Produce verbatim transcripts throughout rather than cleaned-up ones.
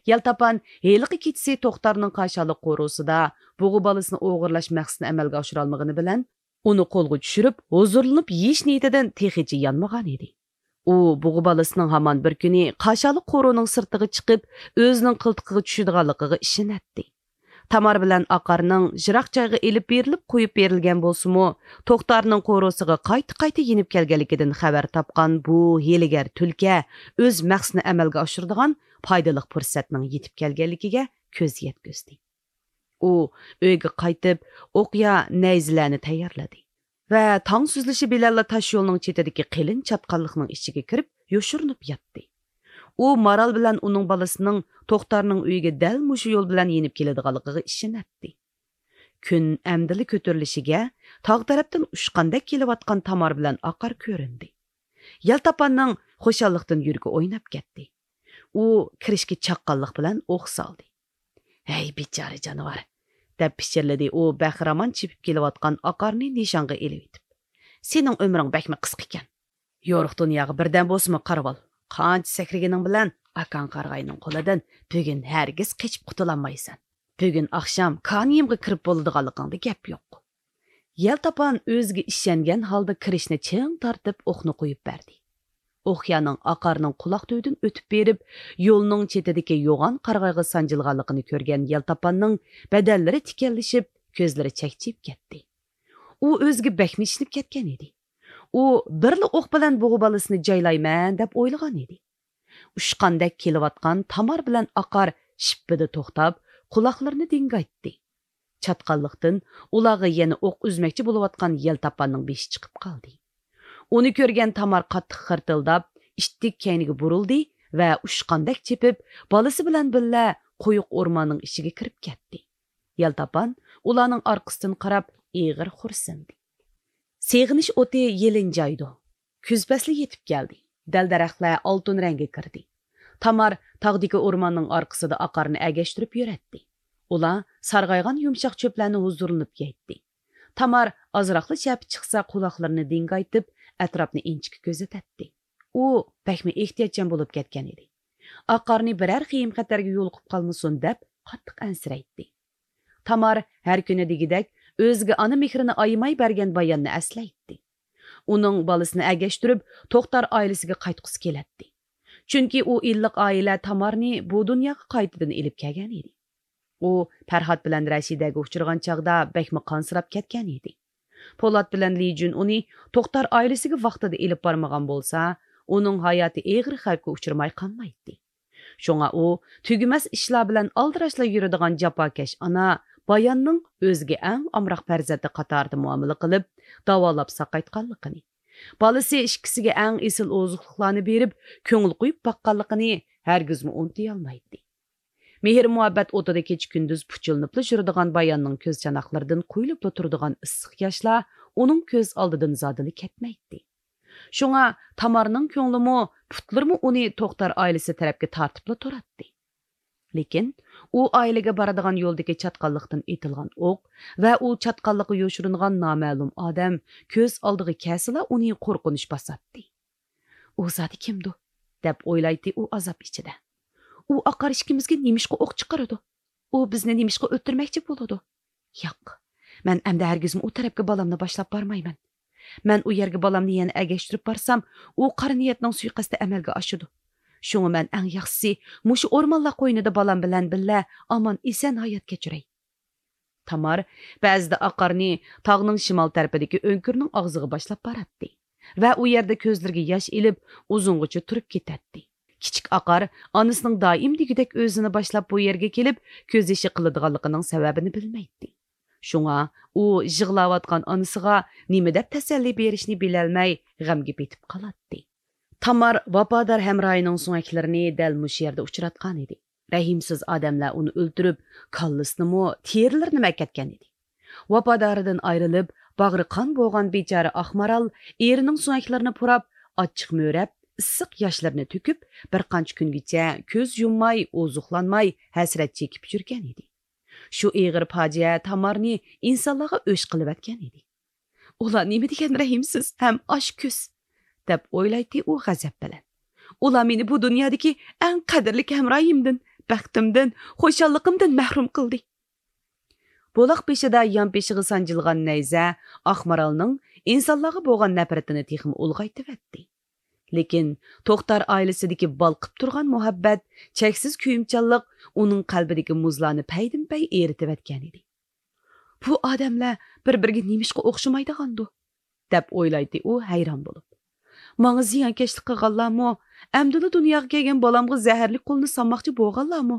يەلتاپان ھېلىقى كېچىسى توختارنىڭ قاشالىق قورۇسىدا بۇغا بالىسىنى ئوغرىلاش مەقسىتىنى ئەمەلگە ئاشۇرالمىغىنى بىلەن، ئۇنى قولغا چۈشۈرۈپ، ھۇزۇرلىنىپ يېيىش نىيىتىدىن تېخىچە يانمىغان ئىدى. ئۇ بۇغا بالىسىنىڭ ھامان بىر كۈنى قاشالىق قورۇنىڭ سىرتىغا چىقىپ، ئۆزىنىڭ قىلتىقىغا چۈشىدىغانلىقىغا ئىشىنەتتى. تامار بىلەن ئاقارنىڭ يىراق جايغا ئېلىپ بېرىلىپ قويۇپ بېرىلگەن بولسىمۇ، توختارنىڭ قورۇسىغا قايتا-قايتا يېنىپ كەلگەنلىكىدىن خەۋەر تاپقان بۇ ھىيلىگەر تۈلكە ئۆز مەقسىتىنى ئەمەلگە ئاشۇرىدىغان پايدىلىق پۇرسەتنىڭ يېتىپ كەلگەنلىكىگە كۆز يەتكۈزدى. ئۇ ئۆيگە قايتىپ، ئوقيا نەيزىلەرنى تەييارلىدى ۋە تاڭ سۈزۈلۈشى بىلەنلا تاش يولنىڭ چېتىدىكى قېلىن چاتقاللىقنىڭ ئىچىگە كىرىپ يوشۇرۇنۇپ ياتتى. ئۇ مارال بىلەن ئۇنىڭ بالىسىنىڭ توختارنىڭ ئۆيىگە دەل مۇشۇ يول بىلەن يېنىپ كېلىدىغانلىقىغا ئىشىنەتتى. كۈن ئەمدىلا كۆتۈرۈلۈشىگە، تاغ تەرەپتىن ئۇچقاندەك كېلىۋاتقان تامار بىلەن ئاقار كۆرۈندى. يەلتاپاننىڭ خۇشاللىقتىن يۈرىكى ئويناپ كەتتى. ئۇ كىرىشكە چاققانلىق بىلەن ئوق سالدى. «ھەي، بىچارە جانىۋار!» دەپ پىچىرلىدى ئۇ بەخىرامان چېپىپ كېلىۋاتقان ئاقارنى نىشانغا ئېلىۋېتىپ. «سېنىڭ ئۆمرۈڭ بەكمۇ قىسقىكەن.» «يورۇق دۇنياغا بىردەم بولسىمۇ قارىۋال. قانچە سەكرىگىنىڭ بىلەن ئاكاڭ قارىغاينىڭ قولىدىن بۈگۈن ھەرگىز قېچىپ قۇتۇلالمايسەن. بۈگۈن ئاخشام كانىيىمغا كىرىپ بولىدىغانلىقىڭدا گەپ يوق.» يەلتاپان ئۆزىگە ئىشەنگەن ھالدا كىرىشنى چىڭ تارتىپ ئوقنى قويۇپ بەردى. ئوقيانىڭ ئاقارنىڭ قۇلاق تۈۋىدىن ئۆتۈپ بېرىپ، يولنىڭ چېتىدىكى يوغان قارىغايغا سانجىلغانلىقىنى كۆرگەن يەلتاپاننىڭ بەدەنلىرى تىكەنلىشىپ، كۆزلىرى چەكچىيىپ كەتتى. ئۇ ئۆزىگە بەكمۇ ئىشىنىپ كەتكەن ئىدى. ئۇ بىرلا ئوق بىلەن بۇغا بالىسىنى جايلايمەن دەپ ئويلىغان ئىدى. ئۇچقاندەك كېلىۋاتقان تامار بىلەن ئاقار شىپپىدە توختاپ، قۇلاقلىرىنى دىڭگايتتى. چاتقاللىقتىن ئۇلارغا يەنە ئوق ئۈزمەكچى بولۇۋاتقان يەلتاپاننىڭ بېشى چىقىپ قالدى. ئۇنى كۆرگەن تامار قاتتىق خىرتىلداپ، ئىتتىك كەينىگە بۇرۇلدى ۋە ئۇچقاندەك چېپىپ، بالىسى بىلەن بىللە قويۇق ئورماننىڭ ئىچىگە كىرىپ كەتتى. يەلتاپان ئۇلارنىڭ ئارقىسىدىن قاراپ ئېغىر خورسىندى. سېغىنىش ئوتى يېلىنجايدۇ. كۈز پەسلى يېتىپ كەلدى. دەل-دەرەخلەر ئالتۇن رەڭگە كىردى. تامار تاغدىكى ئورماننىڭ ئارقىسىدا ئاقارنى ئەگەشتۈرۈپ يۈرەتتى. ئۇلار سارغايغان يۇمشاق چۆپلەرنى ھۇزۇرلىنىپ يەيتتى. تامار ئازراقلا چەپە چىقسا، قۇلاقلىرىنى دىڭگايتىپ، ئەتراپنى ئىنچىكە كۆزىتەتتى. ئۇ بەكمۇ ئېھتىياتچان بولۇپ كەتكەن ئىدى. ئاقارنى بىرەر خېيىم-خەتەرگە يولۇقۇپ قالمىسۇن دەپ قاتتىق ئەنسىرەيتتى. تامار ھەر كۈنى دېگۈدەك ئۆزىگە ئانا مېھرىنى ئايىماي بەرگەن باياننى ئەسلەيتتى. ئۇنىڭ بالىسىنى ئەگەشتۈرۈپ، توختار ئائىلىسىگە قايتقۇسى كېلەتتى. چۈنكى ئۇ ئىللىق ئائىلە تامارنى بۇ دۇنياغا قايتىدىن ئېلىپ كەلگەن ئىدى. ئۇ پەرھات بىلەن رەشىدەگە ئۇچرىغان چاغدا بەكمۇ قانسىراپ كەتكەن ئىدى. پولات بىلەن لى جۈن ئۇنى توختار ئائىلىسىگە ۋاقتىدا ئېلىپ بارمىغان بولسا، ئۇنىڭ ھاياتى ئېغىر خەۋپكە ئۇچرىماي قالمايتتى. شۇڭا ئۇ تۈگىمەس ئىشلار بىلەن ئالدىراشلا يۈرىدىغان جاپاكەش ئانا باياننىڭ ئۆزىگە ئەڭ ئامراق پەرزەنتى قاتارىدا مۇئامىلە قىلىپ، داۋالاپ ساقايتقانلىقىنى، بالىسى ئىككىسىگە ئەڭ ئېسىل ئوزۇقلۇقلارنى بېرىپ، كۆڭۈل قويۇپ باققانلىقىنى ھەرگىزمۇ ئۇنتۇيالمايتتى. مېھىر-مۇھەببەت ئوتىدا كېچە-كۈندۈز پۇچىلىنىپلا يۈرىدىغان باياننىڭ كۆز چاناقلىرىدىن قۇيۇلۇپلا تۇرىدىغان ئىسسىق ياشلار ئۇنىڭ كۆز ئالدىدىن زادىلا كەتمەيتتى. شۇڭا تامارنىڭ كۆڭلىمۇ، پۇتلىرىمۇ ئۇنى توختار ئائىلىسى تەرەپكە تارتىپلا تۇراتتى. لېكىن ئۇ ئائىلىگە بارىدىغان يولدىكى چاتقاللىقتىن ئېتىلغان ئوق ۋە ئۇ چاتقاللىققا يوشۇرۇنغان نامەلۇم ئادەم كۆز ئالدىغا كەلسىلا، ئۇنى قورقۇنچ باساتتى. «ئۇ زادى كىمدۇ؟» دەپ ئويلايتتى ئۇ ئازاب ئىچىدە. «ئۇ ئاقار ئىككىمىزگە نېمىشقا ئوق چىقىرىدۇ؟ ئۇ بىزنى نېمىشقا ئۆلتۈرمەكچى بولىدۇ؟ ياق، مەن ئەمدى ھەرگىزمۇ ئۇ تەرەپكە بالامنى باشلاپ بارمايمەن. مەن ئۇ يەرگە بالامنى يەنە ئەگەشتۈرۈپ بارسام، ئۇ قارا نىيەتنىڭ سۇيىقەستى ئەمەلگە ئاشىدۇ. شۇڭا مەن ئەڭ ياخشىسى مۇشۇ ئورمانلار قوينىدا بالام بىلەن بىللە ئامان-ئېسەن ھايات كەچۈرەي.» تامار بەزىدە ئاقارنى تاغنىڭ شىمال تەرىپىدىكى ئۆڭكۈرنىڭ ئاغزىغا باشلاپ باراتتى ۋە ئۇ يەردە كۆزلىرىگە ياش ئېلىپ، ئۇزۇنغىچە تۇرۇپ كېتەتتى. كىچىك ئاقار ئانىسىنىڭ دائىم دېگۈدەك ئۆزىنى باشلاپ بۇ يەرگە كېلىپ كۆز يېشى قىلىدىغانلىقىنىڭ سەۋەبىنى بىلمەيتتى. شۇڭا ئۇ يىغلاۋاتقان ئانىسىغا نېمە دەپ تەسەللى بېرىشنى بىلەلمەي غەمگە پېتىپ قالاتتى. تامار ۋاپادار ھەمراھىنىڭ سۆڭەكلىرىنى دەل مۇشۇ يەردە ئۇچراتقانىدى. رەھىمسىز ئادەملەر ئۇنى ئۆلتۈرۈپ، كاللىسىنىمۇ، تېرىلىرىنىمۇ ئەكەتكەن ئىدى. ۋاپادارىدىن ئايرىلىپ، باغرى قان بولغان بىچارە ئاق مارال ئېرىنىڭ سۆڭەكلىرىنى پۇراپ، ئاچچىق مۆرەپ، ئىسسىق ياشلىرىنى تۆكۈپ، بىر قانچە كۈنگىچە كۆز يۇمماي، ئوزۇقلانماي، ھەسرەت چېكىپ يۈرگەن ئىدى. شۇ ئېغىر پاجىئە تامارنى ئىنسانلارغا ئۆچ قىلىۋەتكەن ئىدى. «ئۇلار نېمە دېگەن رەھىمسىز ھەم ئاچكۆز!» دەپ ئويلايتتى ئۇ غەزەپ بىلەن. «ئۇلار مېنى بۇ دۇنيادىكى ئەڭ قەدىرلىك ھەمراھىمدىن، بەختىمدىن، خۇشاللىقىمدىن مەھرۇم قىلدى. بۇلاق بېشىدا يانپېشىغا سانجىلغان نەيزە ئاقمارالنىڭ ئىنسانلارغا بولغان نەپرىتىنى تېخىمۇ ئۇلغايتىۋەتتى. لېكىن توختار ئائىلىسىدىكى بالقىپ تۇرغان مۇھەببەت، چەكسىز كۆيۈمچانلىق ئۇنىڭ قەلبىدىكى مۇزلارنى پەيدىنپەي ئېرىتىۋەتكەنىدى. بۇ ئادەملەر بىر-بىرىگە نېمىشقا ئوخشىمايدىغاندۇ؟ دەپ ئويلايتتى ئۇ ھەيران بولۇپ. ماڭا زىيانكەشلىك قىلغانلارمۇ، ئەمدىلا دۇنياغا كەلگەن بالامغا زەھەرلىك قولنى سالماقچى بولغانلارمۇ؟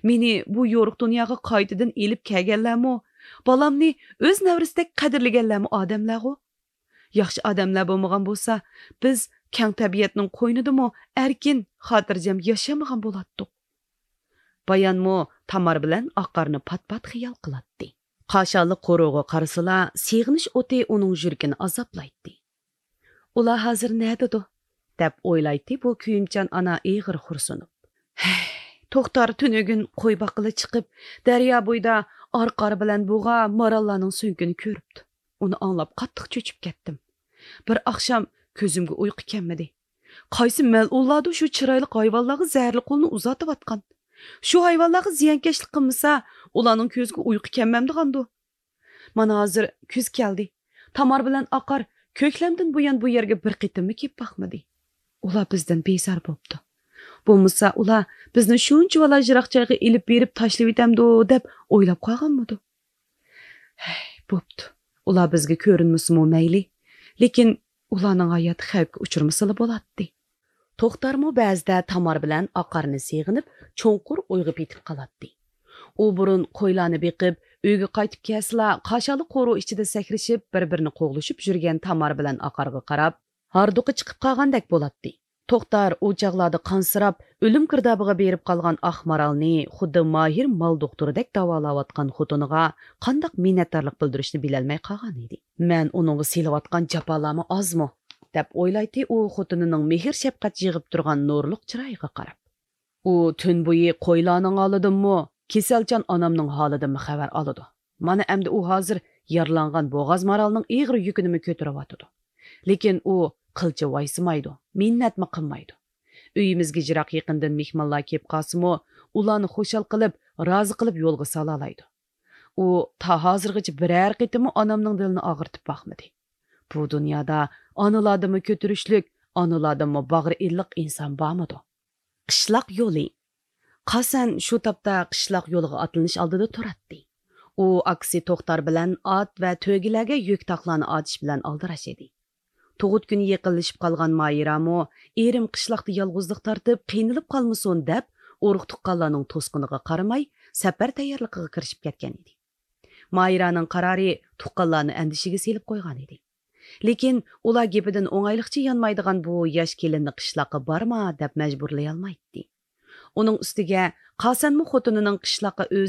مېنى بۇ يورۇق دۇنياغا قايتىدىن ئېلىپ كەلگەنلەرمۇ؟ بالامنى ئۆز نەۋرىسىدەك قەدىرلىگەنلەرمۇ ئادەملەرغۇ؟ ياخشى ئادەملەر بولمىغان بولسا، بىز كەڭ تەبىئەتنىڭ قوينىدىمۇ ئەركىن، خاتىرجەم ياشىيالمىغان بولاتتۇق. بايانمۇ تامار بىلەن ئاقارنى پات-پات خىيال قىلاتتى. قاشالىق قورۇغا قارىسىلا، سېغىنىش ئوتى ئۇنىڭ يۈرىكىنى ئازابلايتتى. ئۇلار ھازىر نەدىدۇ؟ دەپ ئويلايتتى بۇ كۆيۈمچان ئانا ئېغىر خورسۇنۇپ. ھەي، توختار تۈنۈگۈن قوي باققىلى چىقىپ، دەريا بويىدا ئارقار بىلەن بۇغا ماراللارنىڭ سۆڭىكىنى كۆرۈپتۇ. ئۇنى ئاڭلاپ قاتتىق چۆچۈپ كەتتىم. بىر ئاخشام كۆزۈمگە ئۇيقۇ كەلمىدى. قايسى مەلئۇنلاردۇ شۇ چىرايلىق ھايۋانلارغا زەھەرلىك قولنى ئۇزارتىۋاتقان؟ شۇ ھايۋانلارغا زىيانكەشلىك قىلمىسا، ئۇلارنىڭ كۆزىگە ئۇيقۇ كەلمەمدىغاندۇ؟ مانا ھازىر كۈز كەلدى. تامار بىلەن ئاقار كۆكلەمدىن بۇيان بۇ يەرگە بىر قېتىممۇ كېلىپ باقمىدى. ئۇلار بىزدىن بىزار بوپتۇ. بولمىسا ئۇلار بىزنى شۇنچىۋالا يىراق جايغا ئېلىپ بېرىپ تاشلىۋېتەمدۇ دەپ ئويلاپ قالغانمىدۇ؟ ھەي، بوپتۇ. ئۇلار بىزگە كۆرۈنمىسىمۇ مەيلى. لېكىن ئۇلارنىڭ ھاياتى خەۋپكە ئۇچرىمىسىلا بولاتتى. توختارمۇ بەزىدە تامار بىلەن ئاقارنى سېغىنىپ، چوڭقۇر ئويغا پېتىپ قالاتتى. ئۇ بۇرۇن قويلارنى بېقىپ، ئۆيگە قايتىپ كەلسىلا، قاشالىق قورۇ ئىچىدە سەكرىشىپ، بىر-بىرىنى قوغلىشىپ يۈرگەن تامار بىلەن ئاقارغا قاراپ، ھاردۇقى چىقىپ قالغاندەك بولاتتى. توختار ئۇ چاغلاردا قانسىراپ، ئۆلۈم گىردابىغا بېرىپ قالغان ئاقمارالنى خۇددى ماھىر مال دوختۇرىدەك داۋالاۋاتقان خوتۇنىغا قانداق مىننەتدارلىق بىلدۈرۈشنى بىلەلمەي قالغان ئىدى. مەن ئۇنىڭغا سېلىۋاتقان جاپالارمۇ ئازمۇ؟ دەپ ئويلايتتى ئۇ خوتۇنىنىڭ مېھىر-شەپقەت يىغىپ تۇرغان نۇرلۇق چىرايىغا قاراپ. ئۇ تۈن بويى قويلارنىڭ ھالىدىنمۇ، كېسەلچان ئانامنىڭ ھالىدىنمۇ خەۋەر ئالىدۇ. مانا ئەمدى ئۇ ھازىر يارىلانغان بوغاز مارالنىڭ ئېغىر يۈكىنىمۇ كۆتۈرۈۋاتىدۇ. لېكىن ئۇ قىلچە ۋايسىمايدۇ، مىننەتمۇ قىلمايدۇ. ئۆيىمىزگە يىراق يېقىندىن مېھمانلار كېلىپ قالسىمۇ، ئۇلارنى خۇشال قىلىپ، رازى قىلىپ يولغا سالالايدۇ. ئۇ تا ھازىرغىچە بىرەر قېتىممۇ ئانامنىڭ دىلىنى ئاغرىتىپ باقمىدى. بۇ دۇنيادا ئانىلاردىنمۇ كۆتۈرۈشلۈك، ئانىلاردىنمۇ باغرى ئىللىق ئىنسان بارمىدۇ؟ قىشلاق يولى. قاسەن شۇ تاپتا قىشلاق يولىغا ئاتلىنىش ئالدىدا تۇراتتى. ئۇ ئاكىسى توختار بىلەن ئات ۋە تۆگىلەرگە يۈك تاقلارنى ئارتىش بىلەن ئالدىراش ئىدى. تۇغۇت كۈنى يېقىنلىشىپ قالغان ماھىرامۇ، ئېرىم قىشلاقتا يالغۇزلۇق تارتىپ، قىينىلىپ قالمىسۇن دەپ، ئۇرۇق-تۇغقانلارنىڭ توسقىنىغا قارىماي، سەپەر تەييارلىقىغا كىرىشىپ كەتكەن ئىدى. ماھىرانىڭ قارارى تۇغقانلارنى ئەندىشىگە سېلىپ قويغان ئىدى. لېكىن ئۇلار گېپىدىن ئوڭايلىقچە يانمايدىغان بۇ ياش كېلىننى قىشلاققا بارما دەپ مەجبۇرلىيالمايتتى. ئۇنىڭ ئۈستىگە قاسەنمۇ خوتۇنىنىڭ قىشلاققا ئۆزى